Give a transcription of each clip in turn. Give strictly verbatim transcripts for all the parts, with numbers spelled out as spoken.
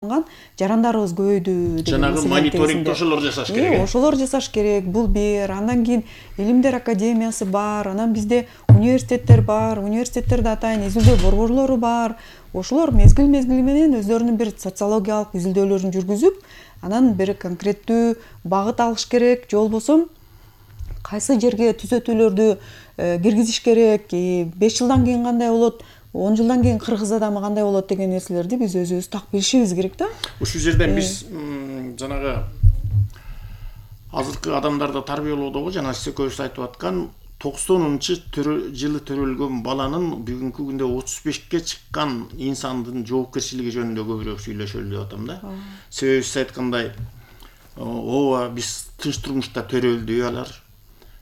жарандарыбыз көбөйдү деген жанагы мониторинг ошолор жасаш керек. Э, ошолор жасаш керек. Бул бир. Андан кийин Илимдер академиясы бар. Анан бизде университеттер бар. Университеттерде атайын изилдөө борборлору бар. Ошолор мезгил мезгили менен өздөрүнүн бир социологиялык изилдөөлөрүн жүргүзүп, анан бир конкреттүү багыт алыш керек. Же болбосо кайсы жерге түзөтүүлөрдү киргизиш керек, беш жылдан кийин кандай болот, он жылдан кийин кыргыз адамы кандай болот деген нерселерди биз өзүбүз так билишибиз керек да. Ушул жерден биз жанагы азыркы адамдарды тарбиялоодогу жана сиз экөөбүз айтып аткан токсонунчу жылы төрөлгөн баланын бүгүнкү күндө отуз бешке чыккан инсандын жоопкерчилиги жөнүндө көбүрөөк сүйлөшөлү деп атам да. Себеби сиз айткандай ооба биз тынч турмушта төрөлдү алар.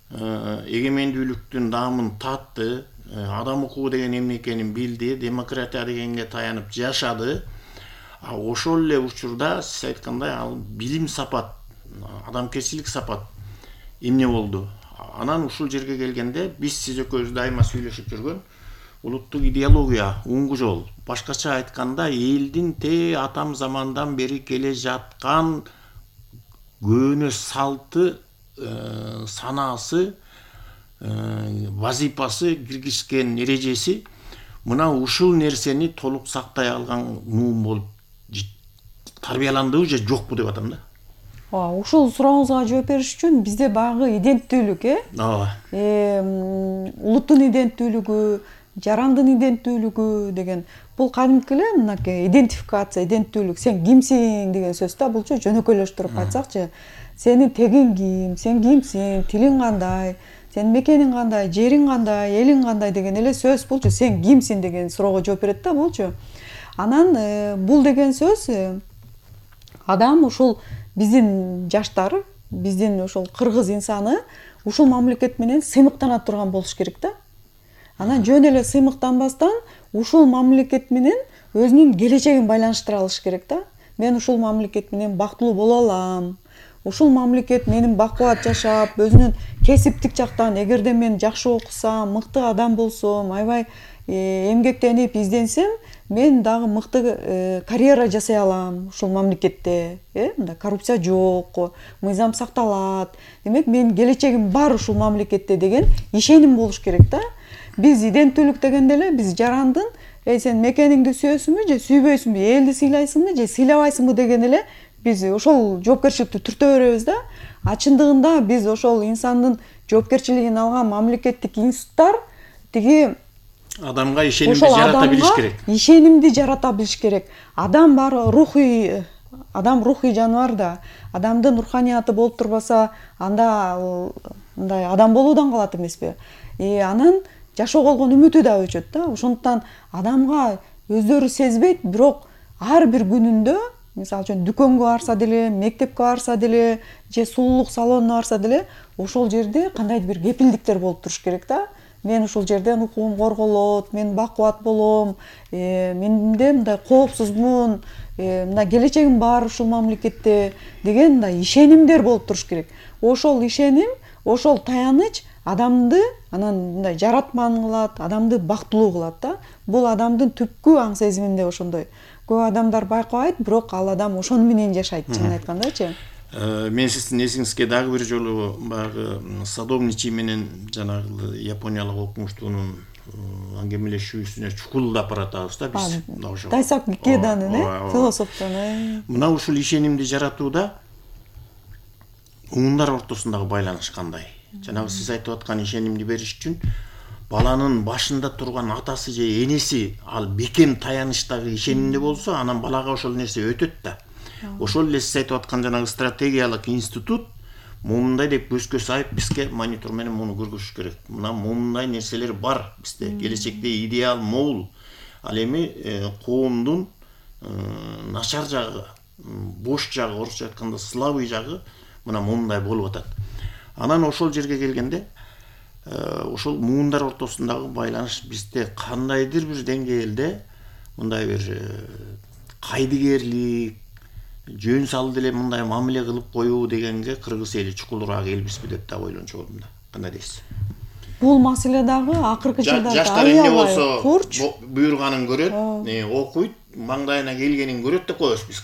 Эгемендүүлүктүн даамын татты, адам укугу деген эмне экенин билди, демократия дегенге таянып жашады. А ошол эле учурда сиз айткандай ал билим сапат, адамгерчилик сапат эмне болду? Анан ушул жерге келгенде биз сиз экөөбүз дайыма сүйлөшүп жүргөн улуттук идеология, уңгу жол. Башкача айтканда элдин те атам замандан бери келе жаткан көөнө салты, санаасы, вазипасы, киргизген эрежеси мына ушул нерсени толук сактай алган муун болуп тарбияландыбы же жокпу деп атам да. Ооба, ушул сурооңузга жооп бериш үчүн бизде баягы иденттүүлүк, э? Ооба. Улуттун иденттүүлүгү, жарандын иденттүүлүгү деген бул кадимки эле мынакей идентификация, иденттүүлүк, сен кимсиң деген сөз да, булчу жөнөкөйлөштүрүп айтсакчы. Сенин тегиң ким, сен кимсиң, тилиң кандай, сенин мекениң кандай, жериң кандай, элиң кандай деген эле сөз булчу. Сен кимсиң деген суроого жооп берет да булчу. Анан бул деген сөз адам ушул биздин жаштар, биздин ошол кыргыз инсаны ушул мамлекет менен сыймыктана турган болуш керек да. Анан жөн эле сыймыктанбастан ушул мамлекет менен өзүнүн келечегин байланыштыра алыш керек да. Мен ушул мамлекет менен бактылуу боло алам. Ушул мамлекет менин бакубат жашап, өзүнүн кесиптик жактан эгерде мен жакшы окусам, мыкты адам болсом, аябай эмгектенип изденсем, мен дагы мыкты карьера жасай алам ушул мамлекетте. Э, мындай коррупция жок, мыйзам сакталат. Демек, менин келечегим бар ушул мамлекетте деген ишеним болуш керек да. Биз иденттүүлүк дегенде эле биз жарандын, эй сен мекениңди сүйөсүңбү же сүйбөйсүңбү, элди сыйлайсыңбы же сыйлабайсыңбы деген эле биз ошол жоопкерчиликти түртө беребиз да. А чындыгында биз ошол инсандын жоопкерчилигин алган мамлекеттик институттар тиги адамга ишенимди жарата билиш керек. Ишенимди жарата билиш керек. Адам бар рухий, адам рухий жаныбар да. Адамдын руханияты болуп турбаса, анда мындай адам болуудан калат эмеспи? И анан жашоого болгон үмүтү да өчөт да. Ошондуктан адамга өздөрү сезбейт, бирок ар бир күнүндө, мисалы үчүн дүкөнгө барса деле, мектепке барса деле, же сулуулук салонуна барса деле, ошол жерде кандайдыр бир кепилдиктер болуп туруш керек да. Мен ушул жерден укугум корголот, мен бакубат болом, менде мындай коопсузмун, мындай келечегим бар ушул мамлекетте деген мындай ишенимдер болуп туруш керек. Ошол ишеним, ошол таяныч адамды анан мындай жаратман кылат, адамды бактылуу кылат да. Бул адамдын түпкү аң сезиминде ошондой. Көп адамдар байкабайт, бирок ал адам ошону менен жашайт, чынын айткандачы. Мен сиздин эсиңизге дагы бир жолу баягы Садовничий менен жанагы Япониялык окумуштуунун аңгемелешүүсүнө чукулдап баратабыз да биз. Ошо Тайсаку Икеданын, э, философтон. Мына ушул ишенимди жаратууда уундар ортосундагы байланыш кандай? Жанагы сиз айтып аткан ишенимди бериш үчүн баланын башында турган атасы же энеси ал бекем таянычтагы ишенимде болсо, анан балага ошол нерсе өтөт да. Ошол эле сиз айтып аткан жанагы стратегиялык институт момундай деп көзгө сайып бизге монитор менен муну көргөзүш керек. Мына момундай нерселер бар бизде. Келечекте идеал могул. Ал эми коомдун начар жагы, бош жагы, орусча айтканда слабый жагы мына момундай болуп атат. Анан ошол жерге келгенде ошол муундар ортосундагы байланыш бизде кандайдыр бир деңгээлде мындай бир кайдыгерлик, жөн салды эле мындай мамиле кылып коюу дегенге кыргыз эли чукулураак элбизби деп да ойлончу болдум да. Кандай дейсиз? Бул маселе дагы акыркы жылдарда жаштар эмне болсо буйруганын көрөт, окуйт, маңдайына келгенин көрөт деп коебуз биз